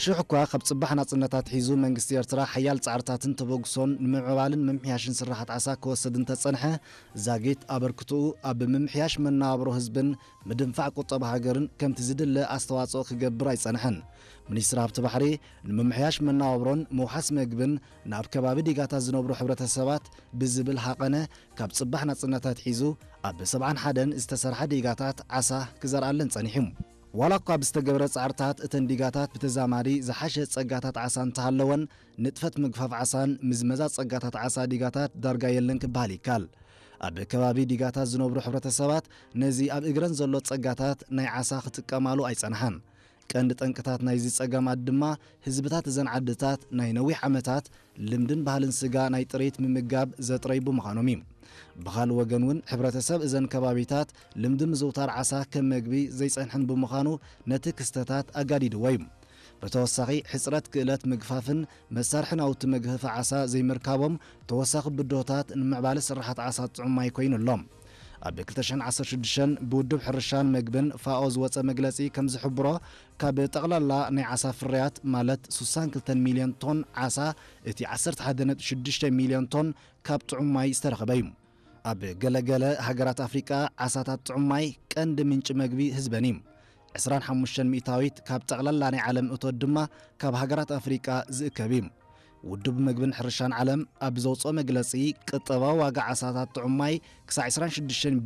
ሽሕ እኳ ካብ ጽባሕ ናጽነታት ሒዙ መንግስቲ ኤርትራ ሓያል ጻዕርታትን ተበግሶን ንምዕባልን ምምሕያሽን ስራሓት ዓሳ ክወስድ እንተጸንሐ፣ ዛጊት ኣበርክትኡ ኣብ ምምሕያሽ መነባብሮ ህዝብን ምድንፋዕ ቁጠባ ሃገርን ከምቲ ዝድለ ኣስተዋጽኦ ክገብር ኣይጸንሐን። ሚኒስትሪ ሃብቲ ባሕሪ፣ ንምምሕያሽ መነባብሮን ምውሓስ መግብን ናብ ከባቢ ዲጋታት ዝነብሩ ሕብረተሰባት ብዝብል ሃቐነ፣ ካብ ጽባሕ ናጽነታት ሒዙ ኣብ ሰብዓን ሓደን ዝተሰርሓ ዲጋታት ዓሳ ክዘርኣለን ጸኒሑ። ዋላ እኳ ብዝተገብረ ጻዕርታት እተን ዲጋታት ብተዛማዲ ዝሓሸ ጸጋታት ዓሳ እንተሃለወን፣ ንጥፈት ምግፋፍ ዓሳን ምዝመዛ ጸጋታት ዓሳ ዲጋታት ዳርጋ የለን ክበሃል ይከኣል። ኣብ ከባቢ ዲጋታት ዝነብሩ ሕብረተሰባት ነዚ ኣብ እግረን ዘሎ ጸጋታት ናይ ዓሳ ክጥቀማሉ ኣይጸንሓን። ቀንዲ ጠንቅታት ናይዚ ጸገማት ድማ ህዝብታት እዘን ዓድታት ናይ ነዊሕ ዓመታት ልምድን ባህልን ስጋ ናይ ጥሪት ምምጋብ ዘጥረዩ ብምዃኖም እዩ። ብኻልእ ወገን እውን ሕብረተሰብ እዘን ከባቢታት ልምዲ ምዝውታር ዓሳ ከም መግቢ ዘይጸንሐን ብምዃኑ ነቲ ክስተታት ኣጋዲድዎ እዩ። ብተወሳኺ ሕጽረት ክእለት ምግፋፍን መሳርሒ ናውቲ መግህፊ ዓሳ ዘይምርካቦም ተወሳኺ ብድሆታት ንምዕባለ ስራሓት ዓሳ ጥዑም ማይ ኮይኑ ኣሎ። ኣብ ክልተ ሽሕን ዓሰርተ ሽዱሽተን ብውድብ ሕርሻን መግብን ፋኦ ዝወጸ መግለጺ ከም ዝሕብሮ፣ ካብ ጠቕላላ ናይ ዓሳ ፍርያት ማለት ስሳን ክልተን ሚልዮን ቶን ዓሳ እቲ ዓሰርተ ሓደ ነጥቢ ሽዱሽተ ሚልዮን ቶን ካብ ጥዑም ማይ ዝተረኸበ እዩ። ኣብ ገለገለ ሃገራት ኣፍሪቃ ዓሳታት ጥዑም ማይ ቀንዲ ምንጪ መግቢ ህዝበን እዩ። ዕስራን ሓሙሽተን ሚእታዊት ካብ ጠቕላላ ናይ ዓለም እቶት ድማ ካብ ሃገራት ኣፍሪቃ ዝእከብ እዩ። ውድብ መግብን ሕርሻን ዓለም ኣብ ዘውፅኦ መግለፂ፣ ቅጠባዊ ዋጋ ዓሳታት ጥዑም ማይ ክሳዕ ዕስራን ሽዱሽተን ቢልዮን